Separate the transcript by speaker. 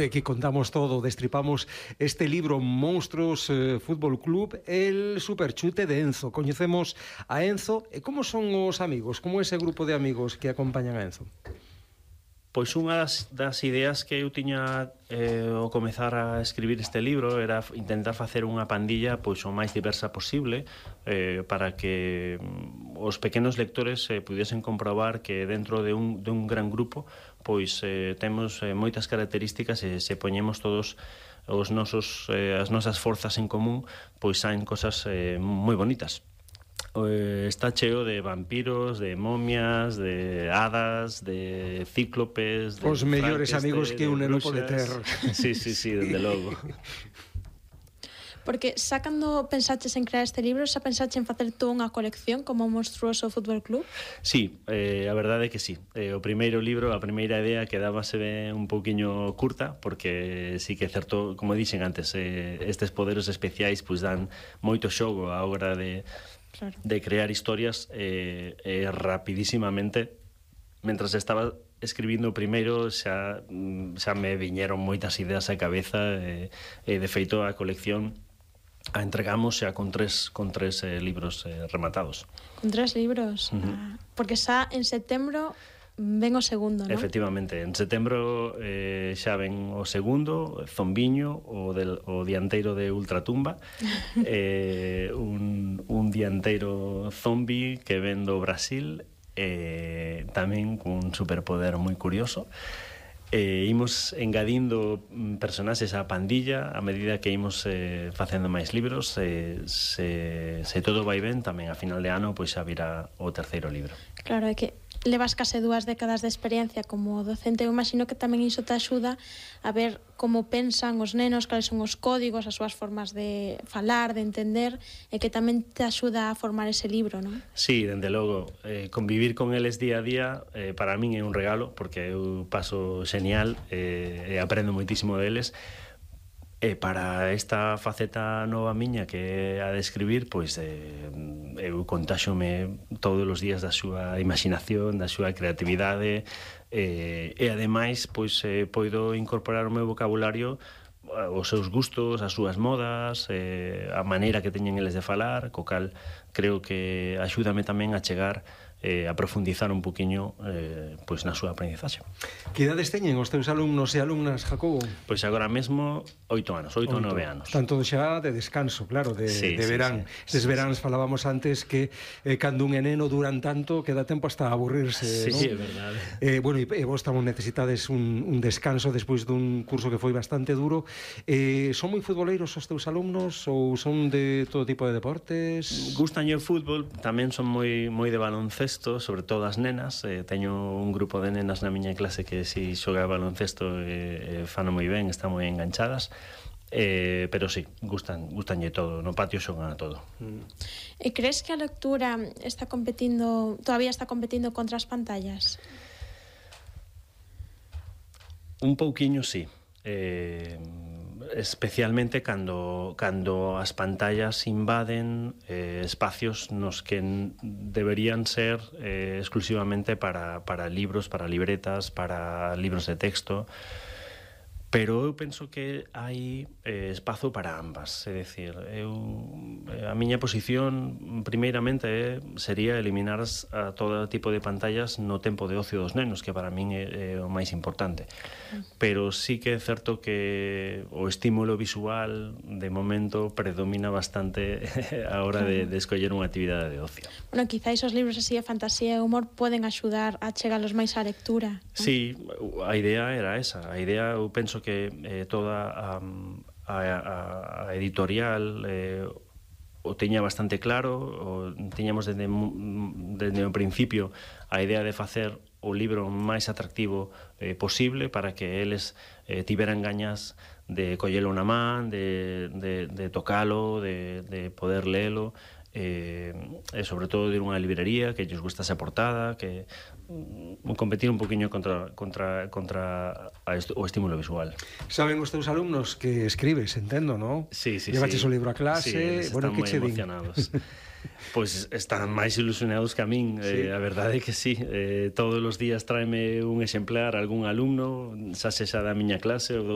Speaker 1: aquí contamos todo, destripamos este libro Monstruos Fútbol Club, el superchute de Enzo. Coñecemos a Enzo. E como son os amigos? Como ese grupo de amigos que acompañan a Enzo?
Speaker 2: Pois unha das ideas que eu tiña ao comezar a escribir este libro era intentar facer unha pandilla pois o máis diversa posible para que os pequenos lectores pudiesen comprobar que dentro de un gran grupo pois temos moitas características e se poñemos todos as nosas forzas en común pois saen cosas moi bonitas. Está cheo de vampiros, de momias, de hadas, de cíclopes,
Speaker 1: os mellores amigos que un neno pode ter.
Speaker 2: Sí, dende logo.
Speaker 3: Porque xa cando pensaches en crear este libro, xa pensaches en facer toda unha colección como o Monstruoso Fútbol Club?
Speaker 2: Sí, a verdade é que sí. O primeiro libro, a primeira idea quedábase un pouquiño curta, porque sí que é certo, como dixen antes, estes poderes especiais pois dan moito xogo á hora de crear historias rapidísimamente. Mentras estaba escribindo o primeiro xa me viñeron moitas ideas á cabeza e de feito a colección a entregamos xa con tres libros rematados.
Speaker 3: Con 3 libros? Porque xa en setembro ven o segundo, non?
Speaker 2: Efectivamente, en setembro xa ven o segundo, Zombiño, o dianteiro de Ultratumba, un dianteiro zombi que ven do Brasil, tamén cun superpoder moi curioso. Imos engadindo personaxes á pandilla a medida que imos facendo máis libros. Se todo vai ben, tamén a final de ano pois xa virá o terceiro libro.
Speaker 3: Claro, é que levas case 2 décadas de experiencia como docente. Eu imagino que tamén iso te axuda a ver como pensan os nenos, cales son os códigos, as súas formas de falar, de entender, e que tamén te axuda a formar ese libro, non?
Speaker 2: Sí, dende logo, convivir con eles día a día para min é un regalo, porque eu paso xenial e aprendo moitísimo deles. E para esta faceta nova miña que é a de escribir, pois eu contáxome todos os días da súa imaginación, da súa creatividade e ademais pois poido incorporar o meu vocabulario os seus gustos, as súas modas, a maneira que teñen eles de falar, co cal creo que axúdame tamén a chegar a profundizar un poquinho pois na súa aprendizaxe.
Speaker 1: Que idades teñen os teus alumnos e alumnas, Jacobo?
Speaker 2: Pois agora mesmo 8 anos, 8 ou 9 anos.
Speaker 1: Están todos xa de descanso, claro, de verán. Estes veráns falábamos antes que cando un neno duran tanto que dá tempo hasta aburrirse,
Speaker 2: sí,
Speaker 1: ¿no?
Speaker 2: Sí, é verdade.
Speaker 1: Bueno, e vos tamén necesitades un descanso despois dun curso que foi bastante duro. Son moi futboleiros os teus alumnos ou son de todo tipo de deportes?
Speaker 2: Gustanlle o fútbol, tamén son moi de baloncesto, sobre todo as nenas. Teño un grupo de nenas na miña clase que si xoga baloncesto fano moi ben, están moi enganchadas. Pero sí, gustanlle todo, no patio xogan a todo.
Speaker 3: E crees que a lectura todavía está competindo contra as pantallas?
Speaker 2: Un pouquiño sí. Especialmente cando as pantallas invaden espacios nos que deberían ser exclusivamente para libros, para libretas, para libros de texto. Pero eu penso que hai espazo para ambas, é dicir, a miña posición primeiramente sería eliminar a todo tipo de pantallas no tempo de ocio dos nenos, que para min é o máis importante. Pero sí que é certo que o estímulo visual de momento predomina bastante a hora de escoller unha actividade de ocio.
Speaker 3: Bueno, quizáis os libros así de fantasía e humor poden axudar a chegalos máis á lectura, non?
Speaker 2: Sí, a idea era esa. A idea, eu penso que toda a editorial o teña bastante claro, tiñamos desde o principio a idea de facer o libro máis atractivo posible para que eles tiveran gañas de collelo na man, de tocalo, de poder lelo, e sobre todo de ir a unha librería que lles gustase a portada, que competir un poquinho contra o estímulo visual.
Speaker 1: Saben os teus alumnos que escribes, entendo, non?
Speaker 2: Sí.
Speaker 1: Llevaches o libro a clase,
Speaker 2: sí,
Speaker 1: bueno, que che din?
Speaker 2: Emocionados. Pois están máis ilusionados que a min, a verdade é que sí, todos os días tráeme un exemplar algún alumno, xa sexa da miña clase ou